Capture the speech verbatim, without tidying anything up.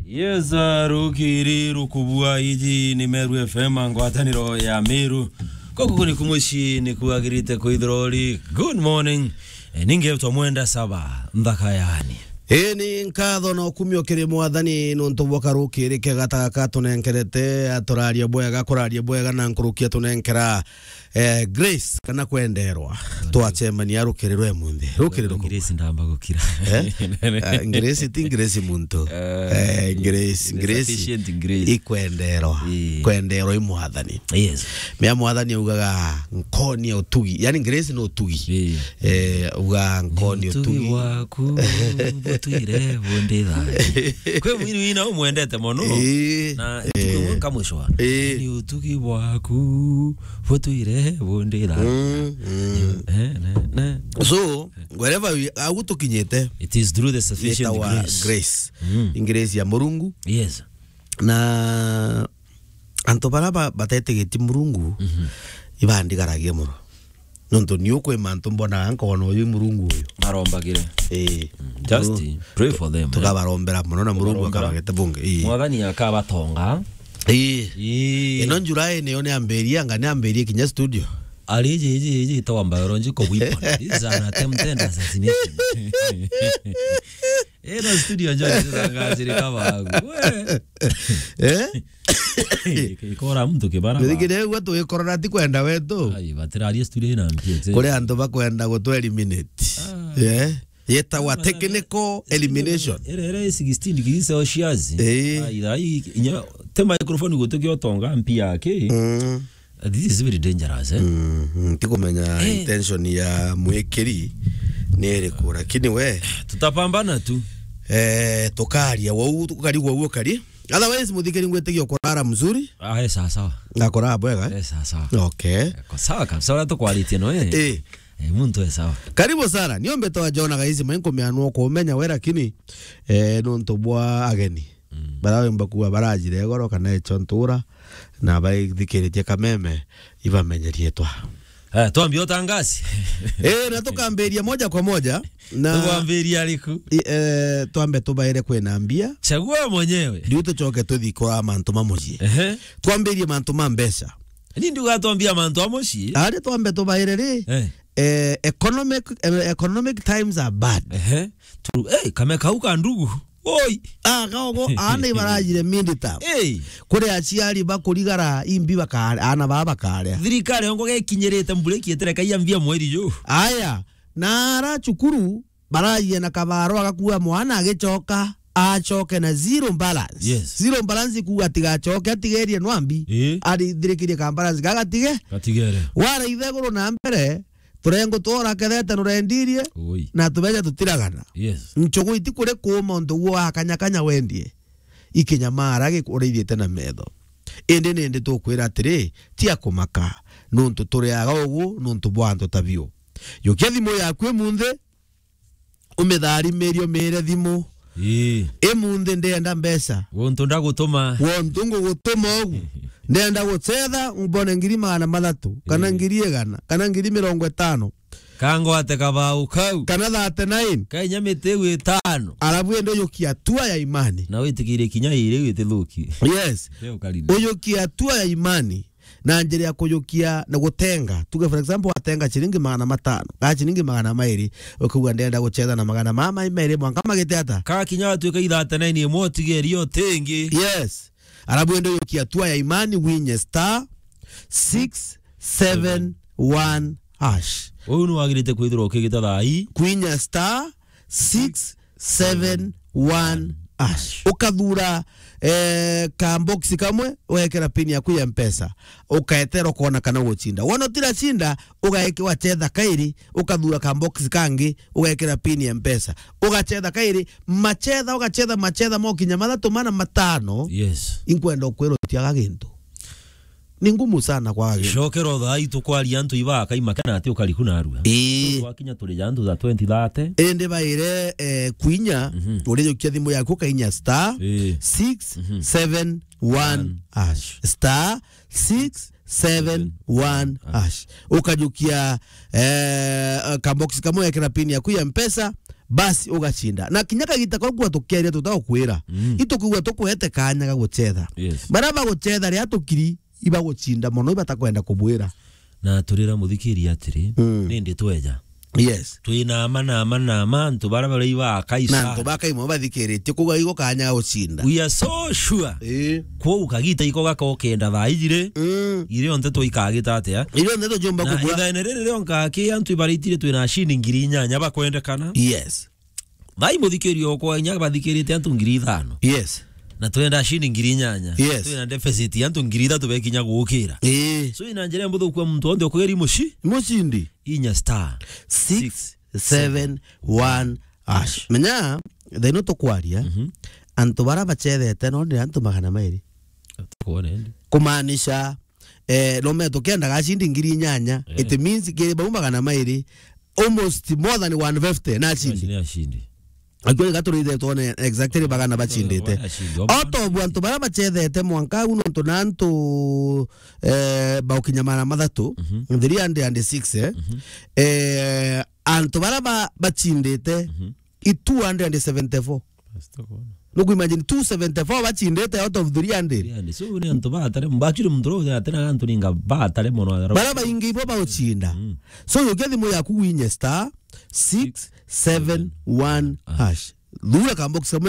Yes, uh, rukiri rukubua. Iji ni Meru F M, ngwataniro ya Meru. Kuku ni kumuci ni kuagirite kwithirwa uri. Good morning. Eh, ningetwa Mwenda Saba, nthaka yani. Ii ni nkatho na ukumio kiri Mwathani nuntu bwa karukiri kega ta gaka atunenkerete, aturarie bwega, kurarie bwega na nkuruki atunenkera, eh, grace kana kwenderwa. Twacemania rukiri rwa imunthi. Rukiri ruku. Grace ndamba gukira. Eh? Ah, grace ti grace muntu. Eh, grace, grace. Sufficient grace. Ikwenderwa. Ii. Kwenderwa i Mwathani. Yes. Mea Mwathani augaga, "Nkoni ya utugi." Yani, grace no utugi. Ii. Eh, uga, "Nkoni ya utugi." Ni utugi bwaku butwire bundi thayu. Kwi mwini wina umwendete mono. Ii. Na, ii, ntuku imwe nkamwicwa. Ii. Ni utugi bwaku butwire bundi thayu. Mm, mm. Eh, ne, ne. So, wherever we, au tukinyite, it is through the sufficient yetawa grace. Grace. Mm. Ni grace ya Murungu. Yes. Na antu bara ba-, batetĩgĩtie Murungu, mhm, ibandigaragia mono. Nontu ni ukwi mantu mbonaga nkona uyu Murungu uyu. Barombagire. Ii. Mm, just pray for them, eh. Tukabarombera mono na Murungu akabarombera. Akabagete bunge. Ii. Mwathani akabatonga. Ii. Ii. Ino July niyo niambiria, anga niambiria kinya studio. Ari iji, iji, iji itawa biological weapon. This is an attempted assassination. Ino studio njo nitangazire kabagu. We. Eh? Ikora mtu kibara. Ndigire gwa tugikorora ti kwenda wetu. Ai, batiraria studio ina mpiete. Kuri antu bakwenda gutu eliminate. Ah. Eh? Yetawa technical elimination. Ere, ere sixteen degrees Celsius. Eh. Ai, ai, inya, te microphone gutukio tonga mpia ki. Mm. This is very dangerous, eh? Mm, mm, tikumenya, eh, intention ya mwikiri ni iriku, lakini we tutapambana tu. Eh, tukaria wau, tukari wau ukari. Otherwise, muthikiri ngwitigia ukurara mzuri. Ah, eh, sawa, sawa. Na kurara bwega, eh? Eh, sawa, sawa. Okay. Eh, ko sawa kabisa, ura tukwaritie no, eh? Eh. Eh, muntu e sawa. Karibu sana. Niombe twa Jona gaisi mainko mianwo kumenya we, lakini, eh, nontu bwa ageni. Mm. Bara wimba kuwa barajire goro kana echo ntura, na baithikiritie kameme, ibamenyerie twa. Eh, twambie utangasi. Eh, na tukambiria moja kwa moja, na tukwambiria ariku? I-, eh, twambe tubaire kwina mbia. Chagua mwenyewe. Riu tucoke tuthi kwa mantu ma mucii. Ehe. Twambirie mantu ma mbeca. Ni ndiuga twambia mantu a mucii. Ari twambe tubaire ri? Eh. Eh, economic, eh, economic times are bad. Ehe. True. Eh, kame kau ka ndugu. Oi. Ah, kaogo, aana ibarajire mindi ta. Hey. Kuri aciari bakurigara imbi bakare, aana baa bakare. Thirikari ongo gekinyirite mbura ikietire kaia mbia mweri ju. Aya, na ara cukuru barajie na kabaro agakua mwana agicoka, acoke na zero balance. Yes. Zero balance kuga atigacoke, atigerie nwambi. Eh. Arithirikirie ka balance gagatige. Gatigere. Wara itheguru na mbere, turengo twora kethete nurendirie, ui, na tubeca tutiragana. Yes. Nchugu iti kuri kuuma untu guo akanyakanya wendie. Ikinyamara gikuriithite na metho. Indi nindi tukwira atiri, tia kumaka, nuntu turiaga ugu nuntu bwa antu ta biu. Yukia thimu yaku imunthi, umitharimerie, umiire thimu. Ii. Imunthi ndienda mbeca. Guntu ndagutuma. Guntu ngugutuma ugu. Ndienda gucetha, mbone ngiri magana mathatu, kana, ii, ngiri igana, kana ngiri mirongo itano. Kangwate kabau kau. Kana thirty-nine. Kainya miti iu itano. Alafu ende ujukia hatua ya imani. Na witikirie kinya iri iu itithuki. Yes. Ujukia hatua ya imani. Na njira ya kujukia na gutenga. Tuge, for example, watenga ciringi magana matano, kana ciringi magana mairi, ukauga, "Ndenda gucetha na magana mama mairi mwanka magite ata?" Ka kinya watuika ithate na ini imwe utigerie utingi. Yes. Arabu ende ujukia hatua ya imani, winye star six seven one hash. Uu ni wagirite kwithirwa ukigita thaa ii. Kwinya star six seven one hash. Ukathura, eh, ka box kamwe, ugekira pin yaku ya Mpesa. Ukaetera ukona kana ugucinda. Wona utiracinda, ugaeke wacetha kairi, ukathura ka box kangi, ugekira pin ya Mpesa. Ugacetha kairi, macetha, ugacetha macetha mokinya mathatu mana matano. Yes. Inkwenda ukwira utiaga gintu. Ni ngumu sana kwaga gintu. Cokera o thaa ii tukwaria antu ibaa kaima kana ati ukariku narua. Ii. Twakinya turi ja antu tha twenty thirty. Indi baire, eh, kwinya, mhm, urijukia thimu yaku ukainya star, ii, six seven one hash. Star six seven one hash. Ukajukia, eh, ka box kamwe, wekira pin yaku ya Mpesa, basi ugacinda. Na kinya kagita kau kwa tukeria tutagukwira. Mm. Itukwigua tukwete kanya ga gucetha. Yes. Bara bagucetha ria tukiri ibagucinda mono, ibatakwenda kubwira. Na turira muthikiri atiri, Mm. nindi tweja. Yes. Twina ama na ama na ama, antu bara bara iba kaisa. Na antu bakaima bathikiritie, kuga igo kanya ga gucinda. We are so sure. Eh. Kwou kagita iko gaka ukenda thaa ijiri, Mm. irio nteto ikagita atia? Irio nteto jomba Na kubua. Ithaene riri rionka ki antu ibaritire twina ashindi ngiri inyanya bakwendekana. Yes. Thaa ii muthikiri okwa inya bathikirite antu ngiri ithano. Yes. Na twenda ashindi ngiri inyanya. Yes. Twina deficit ya antu ngiri ithatu bekinya gukira. Eh. So ina njira mbuthu kwa muntu onthe okugeri muci? Mucindi. Inya star six seven one hash. Menya, thaino tukwaria, Mhm. antu bara bachethete no ni antu magana mairi. Tukwona indi. Kumaanisha, eh, no meto kenda gachindi ngiri inyanya, Eh. it means kiri bau magana mairi, almost more than one fifty na chindi. Ni ashindi. Actually, gaturite tuone exactly bagana bachindite. Ashindi. Out of antu bara bachethete mwanka uno ntu na antu, eh, baukinya magana mathatu, Mhm. three hundred and six, eh. Mhm. Eh, antu bara ba-, bachindite, Mhm. i two hundred and seventy-four. Nuku imagine two seventy-four bachindite out of three hundred. Three hundred. So ni antu batare, actually muntu ro atena antu ninga batare mono. Bara baingi ibo bauchinda. Mm. So yukia thimu yaku winye star six seven one hash. Thura kambox kamwe